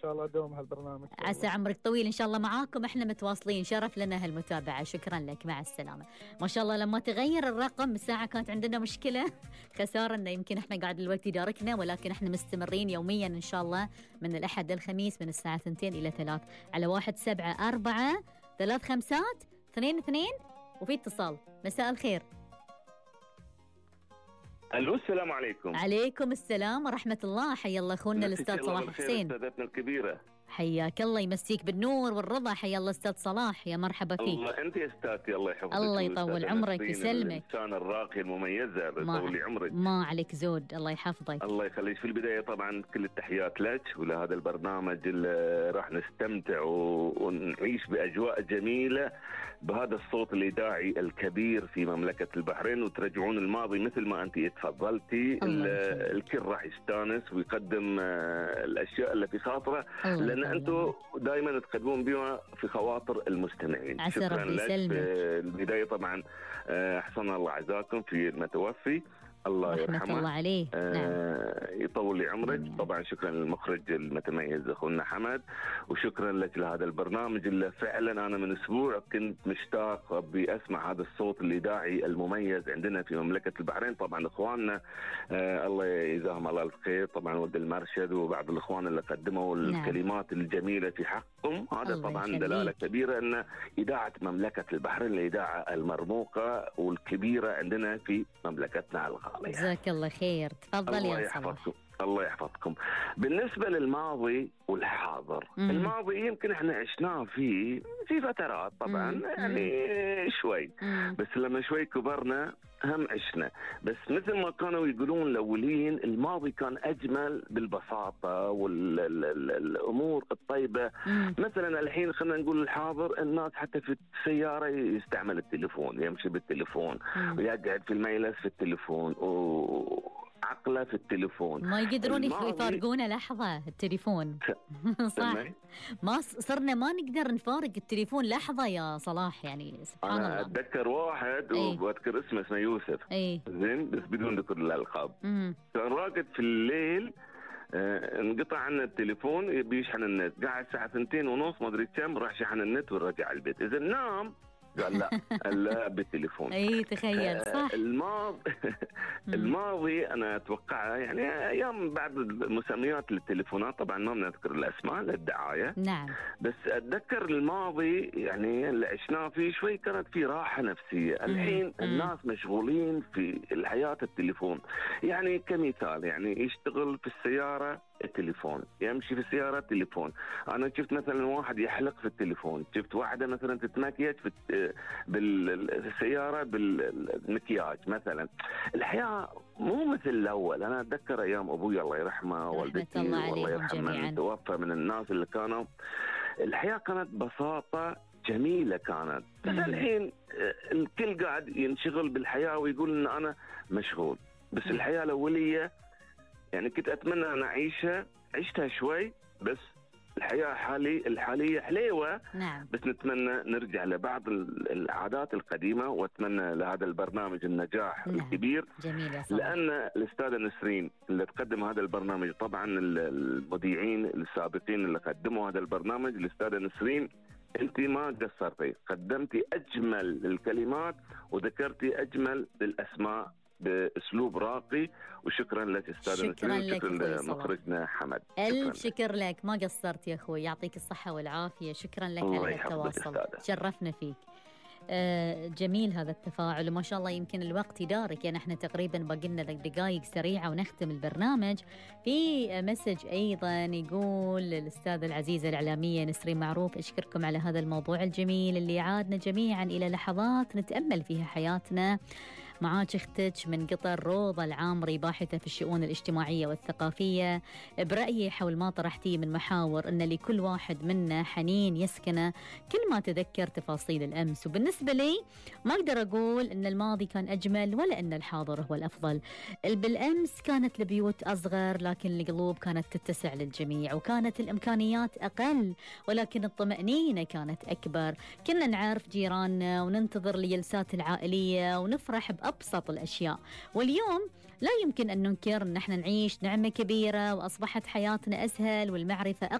شاء الله دوم هالبرنامج. عسى عمرك طويل إن شاء الله معاكم، إحنا متواصلين، شرف لنا هالمتابعة. شكرا لك، مع السلامة. ما شاء الله لما تغير الرقم الساعة كانت عندنا مشكلة خسارة إنه يمكن إحنا قاعد الوقت يداركنا، ولكن إحنا مستمرين يوميا إن شاء الله من الأحد للخميس من الساعة 2 إلى 3 على 174-352-22. وفي اتصال. مساء الخير. الو، السلام عليكم. عليكم السلام ورحمة الله. حيا الله أخونا الأستاذ صلاح حسين. أستاذتنا الكبيرة، حياك الله، يمسيك بالنور والرضا. حيا الله أستاذ صلاح، يا مرحبا فيك. الله، أنت يا أستاذتي، الله يحفظك. الله يطول عمرك يسلمك. الإنسان الراقي المميزة، يطول لي عمرك. ما عليك زود، الله يحفظك. الله يخليك. في البداية طبعا كل التحيات لك ولهذا البرنامج اللي راح نستمتع ونعيش بأجواء جميلة بهذا الصوت الإذاعي الكبير في مملكة البحرين، وترجعون الماضي مثل ما أنت تفضلتي. الكل راح يستانس ويقدم الأشياء اللي في خاطره، لأن أنتم دائما تقدمون بها في خواطر المستمعين. شكرا لك. في البداية طبعا أحسن الله عزاكم في المتوفي، الله يرحمه. الله عليه. يطول لي عمرك. طبعا شكرا للمخرج المتميز أخونا حمد، وشكرا لك لهذا البرنامج اللي فعلا أنا من أسبوع كنت مشتاق بأسمع هذا الصوت الإذاعي المميز عندنا في مملكة البحرين. طبعا إخواننا الله يجزاهم الله الخير، طبعا ولد المرشد وبعض الإخوان اللي قدموا الكلمات الجميلة في حقهم. هذا طبعا دلالة كبيرة أن إذاعة مملكة البحرين الإذاعة المرموقة والكبيرة عندنا في مملكتنا الغالية. جزاك الله خير. تفضل يا صلاح. الله يحفظكم. بالنسبة للماضي والحاضر، الماضي يمكن احنا عشناه في فترات طبعا يعني شوي، بس لما شوي كبرنا هم عشنا. بس مثل ما كانوا يقولون الأولين، الماضي كان أجمل بالبساطة والأمور الطيبة. مثلا الحين خلينا نقول الحاضر، الناس حتى في السيارة يستعمل التليفون، يمشي بالتليفون ويقعد في المجلس في التليفون عقله في التليفون، ما يقدرون يفارقونه لحظة التليفون. صح، ما صرنا ما نقدر نفارق التليفون لحظة يا صلاح، يعني سبحان الله. أنا أتذكر واحد وأذكر اسمه يوسف، زين، بس بدون ذكر الألقاب. كان راقد في الليل، انقطع عنه التليفون، بيشحن النت، قاعد الساعة 2:30 ما أدري كم، راح شحن النت ورجع البيت. إذا نام قال لا بالتليفون. تخيل. صح. الماضي أنا أتوقع يعني أيام بعض المسميات للتليفونات، طبعا ما بنذكر الأسماء للدعاية. نعم. بس أتذكر الماضي يعني اللي عشناه فيه شوي كانت في راحة نفسية. الحين الناس مشغولين في الحياة التليفون. يعني كمثال، يعني يشتغل في السيارة التليفون، يمشي في السيارة التليفون. أنا شفت مثلا واحد يحلق في التليفون، شفت واحدة مثلا تتمكيج بالسيارة بالمكياج مثلا. الحياة مو مثل الأول. أنا أتذكر أيام أبوي الله يرحمه، والدتي والله يرحمه توفى، من الناس اللي كانوا الحياة كانت بساطة جميلة كانت. بس الحين الكل قاعد ينشغل بالحياة ويقول إن أنا مشغول. بس الحياة الأولية يعني كنت أتمنى أن عشتها شوي، بس الحياة الحالية حليوة. نعم. بس نتمنى نرجع لبعض العادات القديمة، وأتمنى لهذا البرنامج النجاح الكبير. جميل يا صلاح. لأن الأستاذة نسرين اللي تقدم هذا البرنامج، طبعا المذيعين السابقين اللي قدموا هذا البرنامج، الأستاذة نسرين أنت ما قصرتي، قدمتي أجمل الكلمات وذكرتي أجمل الأسماء بأسلوب راقي. وشكرا لك أستاذ نسرين، شكرا لمخرجنا حمد. ألف شكر لك، ما قصرت يا أخوي، يعطيك الصحة والعافية. شكرا لك على التواصل، شرفنا فيك. جميل هذا التفاعل، وما شاء الله يمكن الوقت يدارك، يعني احنا تقريبا باقي لنا دقائق سريعة ونختم البرنامج. في مسج أيضا يقول الأستاذة العزيزة الإعلامية نسرين معروف، أشكركم على هذا الموضوع الجميل اللي عادنا جميعا إلى لحظات نتأمل فيها حياتنا. معاك اختك من قطر روضة العامري، باحثة في الشؤون الاجتماعية والثقافية، برأيي حول ما طرحتيه من محاور أن لكل واحد منا حنين يسكنه كل ما تذكر تفاصيل الأمس. وبالنسبة لي ما أقدر أقول أن الماضي كان أجمل ولا أن الحاضر هو الأفضل. بالأمس كانت البيوت أصغر لكن القلوب كانت تتسع للجميع، وكانت الإمكانيات أقل ولكن الطمأنينة كانت أكبر. كنا نعرف جيراننا وننتظر الجلسات العائلية ونفرح بأبسط الأشياء. واليوم لا يمكن أن ننكر أن احنا نعيش نعمة كبيرة، وأصبحت حياتنا أسهل والمعرفة